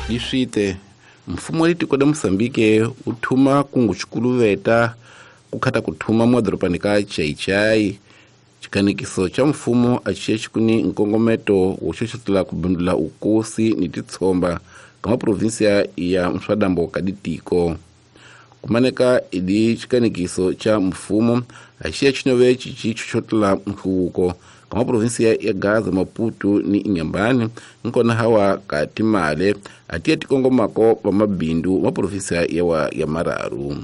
Iswite mfumo wa tiko la Mosambike wu thuma kungu xikuluveta ku khata ku thuma mwadorobani ka Chaichai. Xikanekiso xa mfumo a xi xi kuni nkongometo wo xoxotela ku bindula ukosi ni titshomba ka maprovinsiya ya mswadambo ka ditiko. Kumaneka idi xikanekiso xa mfumo a xi ya xinove xi xoxotela nhluvuko ka maprovinsiya ya Gaza, Maputo ni Inhambane, nkona hawa ka timale a tiya tikongomako va mabindu maprovinsiya yawa ya mararu.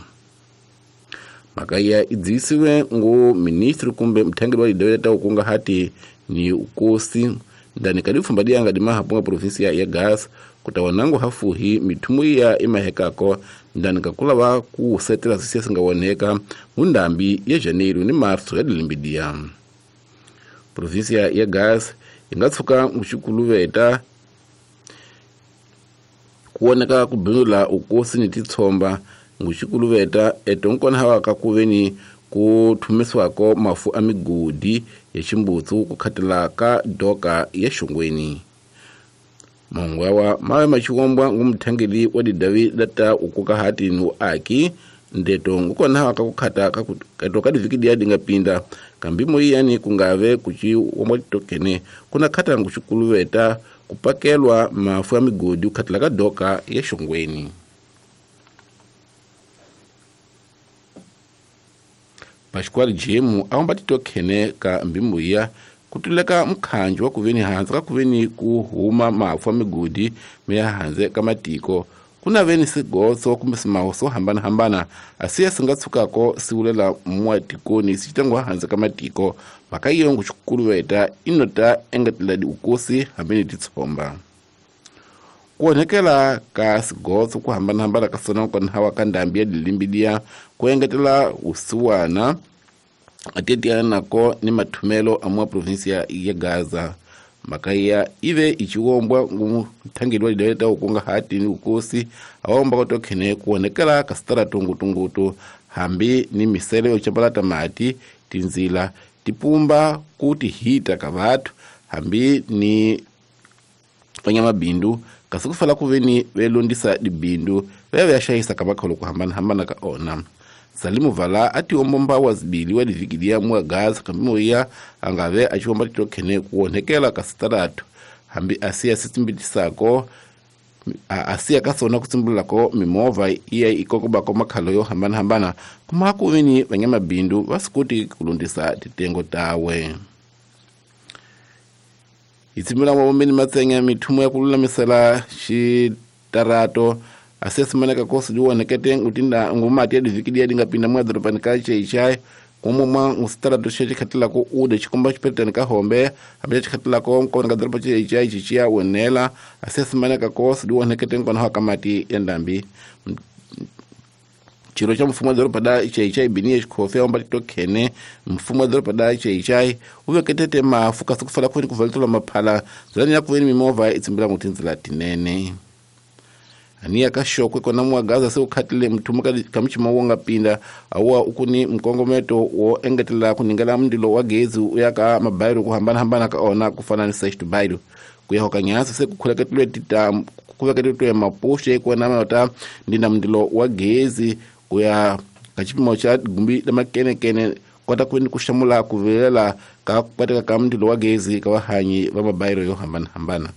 Mhaka ya idzisiwe ngo ministri kumbe mthangeli wa lidawela ta ukunga hati ni ukosi ndani ka lipfumba liyanga dimahapo provinsia ya Gaza kutawanango hafuhi mithumo ya imahekako ndani ka kulava ku setela sisiya singawoneka mundambi ya Janeiro ni Março ya dilimbidia. Provinsia ya Gaza ingatsuka muxikuluveta kuoneka kubinula ukosi ni titshomba nguxikuluveta etonkona hawa ka kuveni ku thumisiwako mafu a migodi ya ximbutsu ku khatela ka doka ya xongweni. Mahungu yawa mawe maxiwombwa ngu muthangeli wa didavi lata ukuka hati ni uaki ndeto ngukona hawa ka kukhata ka ka diviki diya dinga pinda kambi moyani kungave kuchi wombwa titokene kuna khata nguxikuluveta kupakelwa mafu ya migodi ku khatela ka doka ya xongweni. Pascual Jemu awamba titokhene ka mbimbuya kutuleka mkhanjo wa kuveni hanze ka kuveni ku huma mafu a migodi miya hanze ka matiko kuna veni sigotso kumbe simaho swo hambanahambana asiya singatshukako siwulela mwatikoni sicitangwa hanze ka matiko mhaka iyo nguxikuluveta inota engetela diukosi hambi ni titshomba. Ku onhekela ka sigotso ku hambanahambana ka sona kona hawa ka ndhambi ya dilimbidiya ku engetela usiwana atiyetiyana nako ni mathumelo a mwa provinsia ya Gaza. Mhaka ya ive ichiwombwa ngu mthangeli wa lidawela ukunga hati ni ukosi awomba kotokhene ku onhekela ka sitarato ngutungutu hambi ni misele yo chapalata mati tinzila tipumba ku tihita ka vathu hambi ni vanyamabindu kasi ku fala kuveni velondisa dibindu vaya vya xayisa ka makholo ku hambanahambana ka ona. Salimu Vala a tihombomba wa zibili wa divikidia mwa Gaza kambi moya angave a xiwomba titokhene ku onhekela ka sitarato hambi asiya sitsimbitisako asiya ka sona ku tsimbulako mimovha iya ikokobako makhalo yo hambanahambana kuma kuveni vanyamabindu va swi koti ku londisa titengo tawe. Hitsimula mabombeni matsenya mithumo ya ku lulamisela xitarato asiya simaneka kosi diwonekete ngutinda ngumati ya diviki diya dingapinda mwa dorobani ka Chaichai kumwe mwa ngusitarato xe xikhatilako ude xikomba xipetani ka hombe hambi xikhatilako nkona ka doroba Chaichai xixiya wonela asiya simaneka kosi diwonekete nkona ka mati ya ndhambi. Xirho xa mfumo wa doroba da Chaichai Biniya Xikhofi a wamba titokhene mfumo wa doroba da Chaichai wu veketete mafu kasi ku fala kuveni ku valetela maphala ndzilani ya kuveni mimovha i tsimbila ngu tindzila tinene. Aniya ka xokwe kona mwa Gaza se wu khatile mthumo ka muchima wo nga pinda awa ukuni mkongometo wo engetela ku ningela mndilo wa gezi u ya ka mabayiro ku hambanahambana ka ona ku fana ni sexto bayiro ku ya hoka nyasa se ku khuleketeliwe titamu ku veketeliwe mapuxe ku na mata ndina mndilo wa gezi ku ya ka xipimo xa gumbi lamakenekene kota ku ku xamula ku vilela ka ku ka mndilo wa gezi ka vahanyi va mabayiro yo hambanahambana.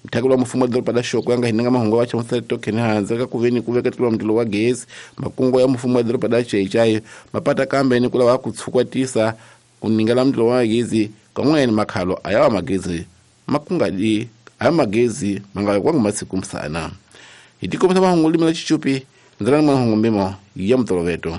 Mthakelo wa mfumo wa doroba la Xokwe a nga hinanga mahungu wa chamusela tokhene hanze ka kuveni ku veketeliwa mndilo wa gezi makungu ya mfumo wa doroba la Chaichai mapata kambe ni ku lava ku tshukwatisa ku ningela mndilo wa gezi kan'wene makhalo a yawa magezi makungadi a magezi manga kwangu masiku msana. Hi tikomisa mahungu limela chichupi ndzalani mahungu mbimo ya mutoloveto.